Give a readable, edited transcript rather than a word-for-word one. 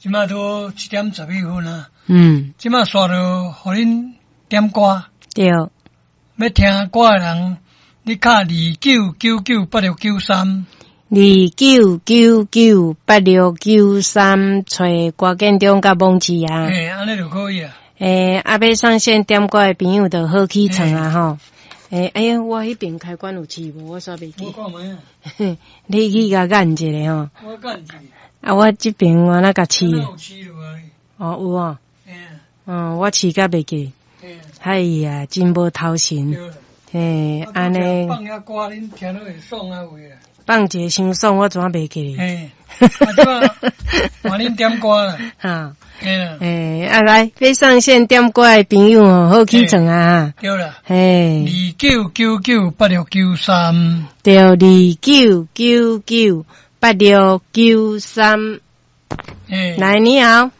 這馬都7點11分啊。這馬煞著予恁點歌。要聽歌的人，你敲29998693。29998693，揣歌建中佮網址啊。嘿，按呢就可以啊。欸，啊，欲上線點歌的朋友就好起床啊吼。欸，哎呀，我彼邊開關有試無？我煞袂記。我看覓啊。你去共按一下吼。我按一下。啊，我這邊我哪共試？有試落來。哦，有哦。嗯，我試甲袂記。哎呀，真無頭神。嘿，按呢。放遐歌，恁聽了會爽啊有啊。放一个傷爽，我怎啊袂記？嘿，啊，這馬換恁點歌啦。哈。嘿啦。欸，啊來，欲上線點歌的朋友吼，好起床啊！對啦。嘿。29998693。對，29998693。嘿。來，你好。